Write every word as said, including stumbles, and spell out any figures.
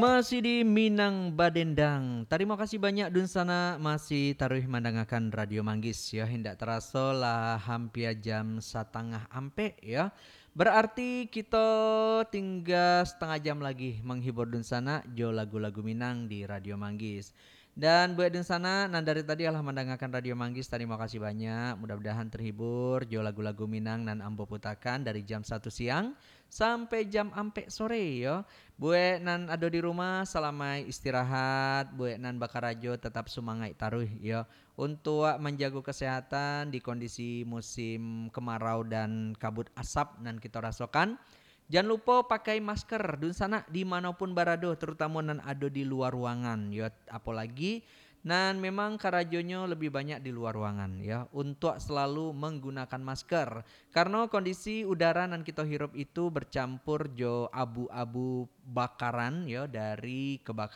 Masih di Minang Badendang. Tarimo kasih banyak dunsanak masih taruih mandangakan Radio Manggis, yo. Indak taraso lah hampia jam satangah ampek, yo. Berarti kito tingga satangah jam lagi manghibur dunsanak jo lagu-lagu Minang di Radio Manggis. Dan buek dunsanak nan dari tadi alah mandangakan Radio Manggis, tarimo kasih banyak. Mudah-mudahan terhibur jo lagu-lagu Minang nan ambo putakan dari jam satu siang sampai jam ampek sore, yo. Buek nan ado di rumah, salamaik istirahat. Buek nan bakarajo, tetap sumangaik taruih, yo. Untuak manjago kesehatan di kondisi musim kemarau dan kabut asap nan kito rasokan, jan lupo pakai masker, dunsanak, di mano pun barado, terutamo nan ado di lua ruangan, yo. Apolagi nan memang karajonyo lebih banyak di lua ruangan, yo, untuak selalu manggunakan masker. Karano kondisi udara nan kito hirup itu bercampur jo abu-abu bakaran, yo, dari kebakaran